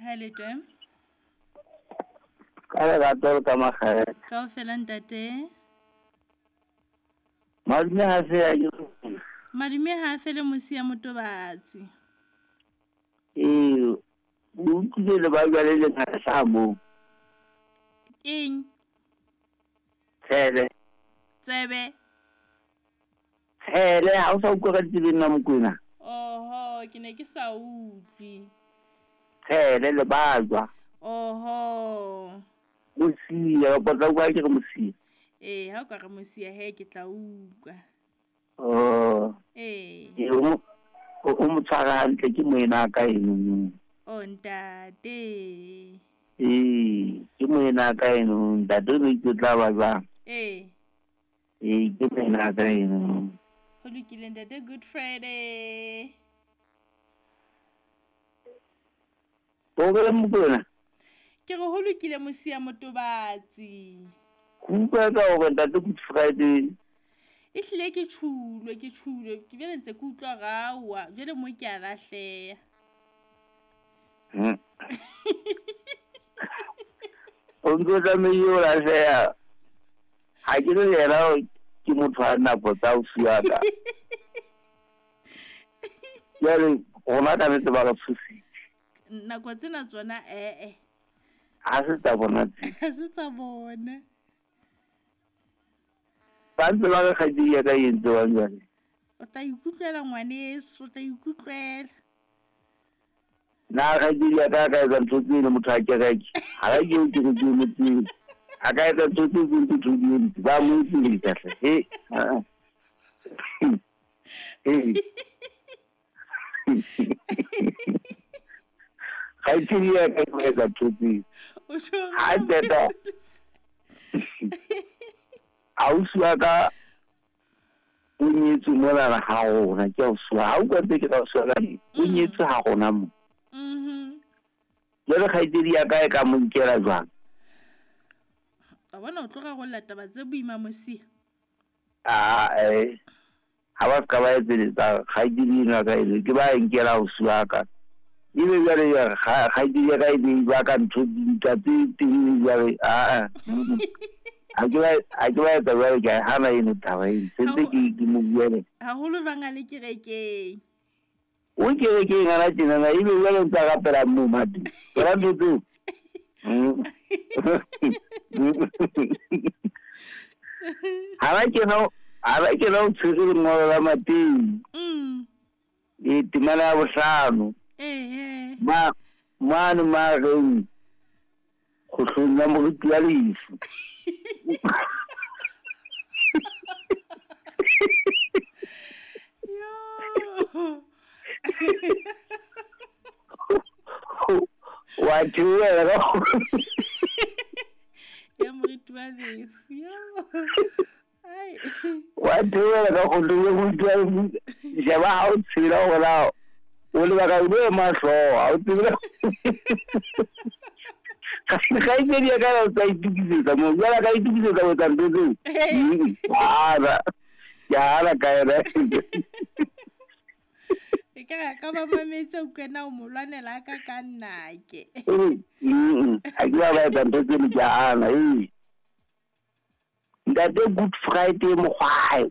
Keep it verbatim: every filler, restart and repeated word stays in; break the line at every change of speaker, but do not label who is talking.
Ha le teng.
Ka lerato le ka makgethe.
Kaofela ntate.
Madume ha se ya ke.
Madume ha fele mosia motobatsi.
Ee, o utlwile le ba jwale le ngata sa moo.
Eng?
Tshele.
Tsebe.
Tshele, ha o sa utlwa ka ditsebeng na Mokwena?
Oho, ke ne ke sa utlwe.
Tshele le bajwa.
Oho.
Mosia, o tla utlwa ke re mosia.
Ee, ha o ka re mosia he ke tla utlwa.
Oh.
Ee.
Ee, o o mo tshwara hantle ke moena ka eno.
Oh ntate.
Ee, ke moena ka eno, ntate o itse tla ba jwang.
Ee.
Ee, ke moena ka eno.
Ho lokile ntate, Good Friday.
O re Mokwena?
Ke re ho lokile mosia motobatsi.
Go utlwa ka hore ntate Good Friday.
E hlile ke tshulwe, ke tshulwe, ke bjale ntse ke utlwa rawa, jwale mo ke a lahleha.
Hmm. O ntse tlamehile o lahleha. Ha ke le yena ke motho a nako tsa ausi wa ka. Jwale rona ka nnete ba re tshositse.
Nako tsena tsona ee.
Ha se tsa bona tse.
Ha se tsa bona.
Ba ntse ba re kgaitsedi ya ka e entse jwang jwale?
O tla ikutlwela ngwaneso, o tla ikutlwela.
Na kgaitsedi ya ka a ka etsa ntho tseno motho a kereke. Ha ka ke ke ke motseng. A ka etsa ntho tse tse ntho di entse. Ba mo etsetsa hle. He. He. Kgaitsedi ya ka e etsa ntho tseo.
O tjho.
Ha qeta. Ausi wa ka o nyetswe mona ha rona, ke ausi wa ha utlwa ntse ke ka ausi wa ka, o nyetswe ha rona mo.
Mhm.
Jwale kgaitsedi ya ka e ka mo nkela jwang?
A bona o tloga go lla taba tse boima mosia.
Ah eh. Ha ba ka ba etsetsa kgaitsedi ena ka ene, ke ba nkela ausi wa ka. Ebe jwale ya kgaitsedi ya ka e be ba ka ntho dintwa tse teng jwale ah ah. Ha ke ba ha ke ba etsa jwale ke hana eno taba eno. Sentse ke ke mo buele.
Haholo jwang a le kerekeng.
O kerekeng ana tjena na ebe jwale ntse a rapela moo mate. Tsona ntho tseo. Ha ba kena ha ba kena o tshwere lengolo la Mateu.
Mm.
E temana ya bohlano.
Eh eh.
Ma mane ma reng kgohlong ya moriti wa lefu.
Yo.
Wa tšwela.
Ya moriti wa lefu. Yo. Ai.
Wa tšwela ka kgohlong ya moriti wa lefu. Sheba ha o tshela hore o lebaka o be mahlo ha o tsebe. Kgaitsedi ya ka o tla itokisetsa mo jwale ka itokisetsa ho etsa ntho tseo. Hana. Ke hana ka yena.
E ka re ka ba mametse o kena o mo lwanela ka ka nnake.
Mm. Ha ke ba ba etsa ntho tseo ke hana. Ee. Ntate Good Friday mokgwae.